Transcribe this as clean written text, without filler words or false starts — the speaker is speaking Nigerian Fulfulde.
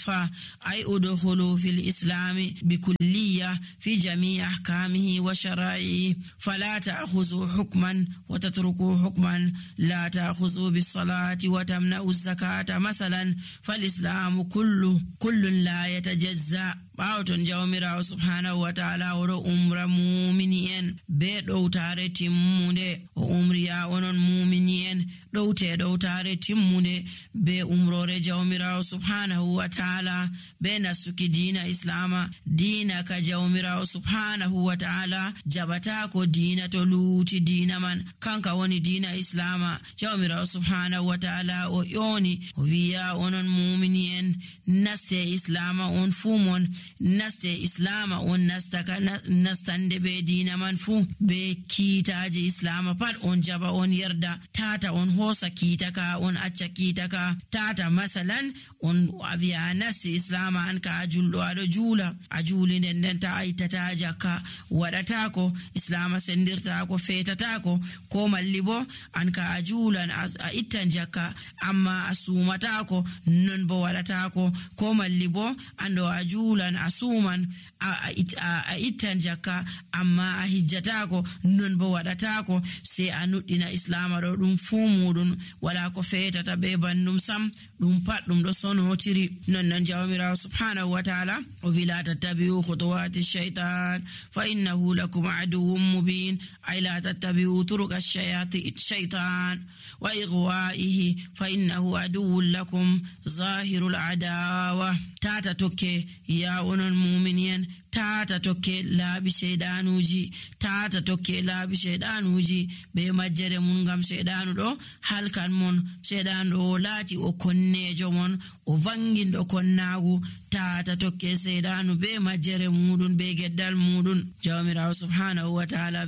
كافة أي ادخلوا في الإسلام بكلية في جميع أحكامه وشرائعه فلا تأخذوا حكما وتتركوا حكما لا تأخذوا بالصلاة وتمنعوا الزكاة مثلا فالإسلام كل لا يتجزأ باوتون جawmirawo subhanahu wa ta'ala woro umra mu'mini'en be dowtare timmunde o umriya onon mu'mini'en dowtare timmunde be umrore jawmirawo subhanahu wa ta'ala be nasuki dina islama dina ka jawmirawo subhanahu wa ta'ala jabata ko dina to luti dina man kanka woni dina islama jawmirawo subhanahu wa ta'ala o yoni o wiya onon mu'mini'en naste islama on fumon naste islama on nastande be dina man fu be kiitaji islama pat on jaba on yerda tata on hosa kiitaka on acca kiitaka tata masalan on aviya nasti islama an ka juldo ado jula a juli nden ta aitata jakka wadata ko islama sendirta ko fetata ko malli bo an ka julan a ittan jakka amma asumata ko non bo wadata ko malli bo ando a julan asuman a ittan jakka amma a hijjatako non bo wadatako sai a nuddina islama do dum fumudun wala ko fetata be bandum sam dum pat dum do sonotiri non jawmira subhanahu wa ta'ala o wila tattabi'u khutuwati shaytan fa innahu lakum aduwwun mubin ay la tattabi'u turuq ash-shaytan wa ighwa'ihi fa innahu aduwwun lakum zahirul adawa tata tokke ya onon mu'minin tata tokke laabi shaydanuji be majjere mun gam shaydanu do halkan mon shaydanu o laati o konnejo mon o vangindo konnagu tata tokke shaydanu be majjere mudun be geddal mudun jawmirawo subhanahu wa ta'ala